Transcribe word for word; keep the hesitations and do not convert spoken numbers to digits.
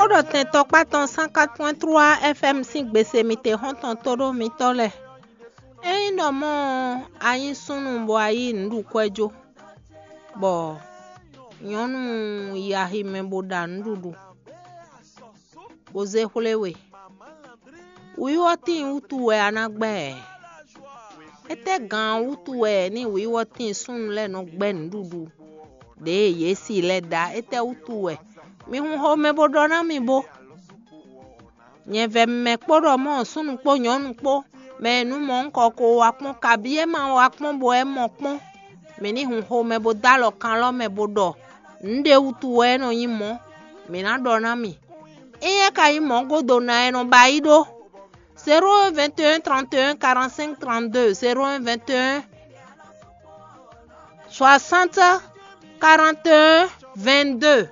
Xó ɖɔ tɛn tɔkpá tɔn cent quatre point trois F M sín gbese mitexɔ́ntɔn tóɖó mitɔ́ lɛ́ɛ. Ényí ɖɔ mɔ̌ ɔ́, a nyí súnnu bɔ a yí nǔɖukwɛ́ jó, bɔ nyɔ̌nu yi aximɛ bó ɖa nǔɖuɖu, bó zé xwlé we. Wǐwɔ́tín wútu wɛ a ná gbɛ́ ɛ. Étɛ́ gǎn wútu wɛ ní wǐwɔ́tín súnnu lɛ́ɛ nɔ gbɛ́ nǔɖuɖu ɖě yě si lɛ́ɛ ɖa? Étɛ́ wútu wɛ? Mi hun xomɛ bó ɖɔ ná mì bó. Nyɛ vɛ mɛ kpó ɖɔ mɔ̌ súnnu kpó nyɔ̌nu kpó, mɛ e nú mɔ un kɔ ko wa kpɔ́n, kabí é ma wa kpɔ́n bɔ é mɔ kpɔ́n. Mǐ ní hun xomɛ bó dó alɔ kan lɔ mɛ bó ɖɔ nǔɖé wútu wɛ é nɔ nyí mɔ̌. Mǐ ná ɖɔ ná mì. Éyɛ́ ka nyí mɔ̌ gúdo ná é nɔ ba yí ɖó. Zéro un vingt et un trente et un quarante-cinq trente-deux, zéro un vingt et un soixante quarante et un vingt-deux.